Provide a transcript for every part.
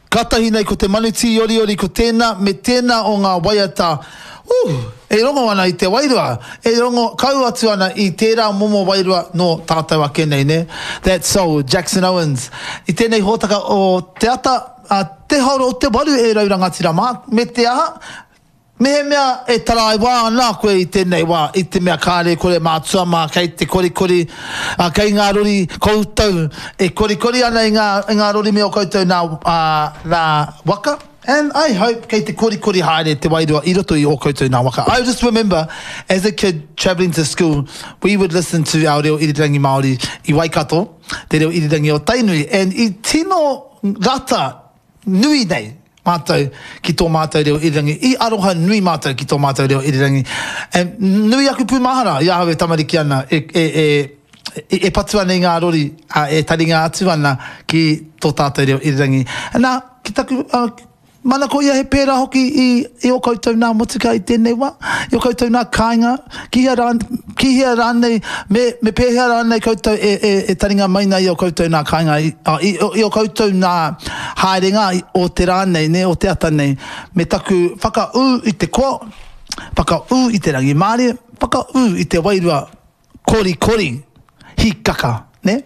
Kātahi nei ko te manu tīoriori ko tēnā me tēnā o ngā waiata, uh, e rongo ana i te wairua, e rongo kau atu ana i tērā momo wairua nō tātou ake nei, nē? That soul, Jackson Owens. I tēnei hōtaka o Te Ata, a Te Haora o te Waru e rau rangatira mā, me te aha, Mehemea e taraiwa ana koe i tēnei wā, i te mea kāre kore mātua mā kei te korikori, ā, kei ngā rori koutou e korikori ana i ngā, i ngā rori me ō koutou nā, ā, nā waka, and I hope kei te korikori haere te wairua i roto i ō koutou nā waka. I just remember as a kid travelling to school, we would listen to our reo irirangi Māori i Waikato, te reo irirangi o Tainui, and i tino rata nui nei mātou ki tō mātou reo irirangi. I aroha nui mātou ki tō mātou reo irirangi. And nui aku pūmahara i ahau e tamariki ana, e, e, e, e patu ana i ngā rori, a, e taringa atu ana ki tō tātou reo irirangi. Nā, ki taku, uh, manako ia he pērā hoki i, i ō koutou nā motuka i tēnei wā, i ō koutou nā kāinga, ki hea, rā, ki hea rānei, me, me pēhea rānei koutou e, e, e taringa mai nei i ō koutou nā kāinga, i, i, i ō koutou nā haerenga o te rā nei, nē, o te ata nei, me taku whakaū i te koa, whakaū i te rangimārie, whakaū i te wairua korikori, hīkaka, nē?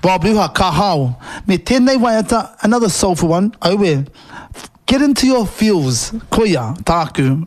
Rob Ruha, ka hao. Me tēnei waiata, another soulful one, aue, get into your feels, koia tāku.